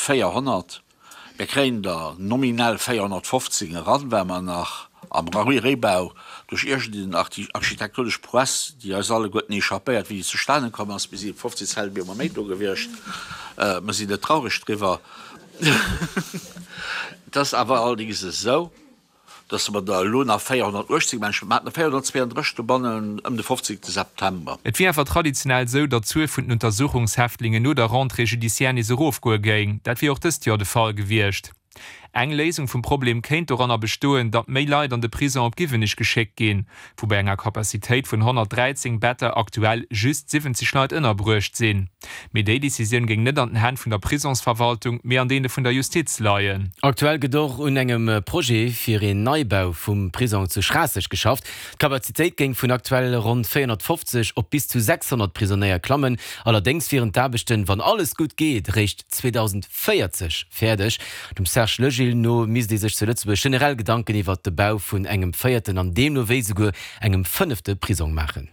400. Mir kréien der nominell 415 eran, well mer nach am Réibau duerch iergend en architektonesch Prouesse, déi eis alleguerten échappéiert, wéi déi zustane komm ass, mir si 15 Zeltbeemer méi do gewiescht, mer sinn net traureg driwwer. Et ass awer allerdéngs esou, dass mer der elo nach 418 Menschen, mer haten der 432 dobannen ëm de 15. September. Et wier awer traditionell esou, datt d'Zuel vun den Untersuchungshäftlingen no der Rentrée judiciaire nees erofgoe géing. Dat wier och dëst Joer de Fall gewiescht. Eng Léisung vum Problem kéint doranner bestoen, datt méi Leit an de Prisong op Giwenich geschéckt ginn, wou bei enger Capacitéit vun 113 Better aktuell just 70 Leit ënnerbruecht sinn. Mee déi Decisioun géing net an den Hänn vun der Prisongsverwaltung, mee an deene vun der Justiz leien. Aktuell gëtt och un engem Projet fir een Neibau vum Prisong zu Schraasseg geschafft. D'Kapazitéit géing vun aktuell ronn 450 op bis zu 600 Prisonéier klammen. Allerdéngs wieren d'Aarbechten, wann alles gutt geet, eréischt 2040 fäerdeg. Dem Serge Legil no misst ee sech zu Lëtzebuerg generell Gedanken iwwert de Bau vun engem véierten an deemno wéi souguer engem fënnefte Prisong maachen.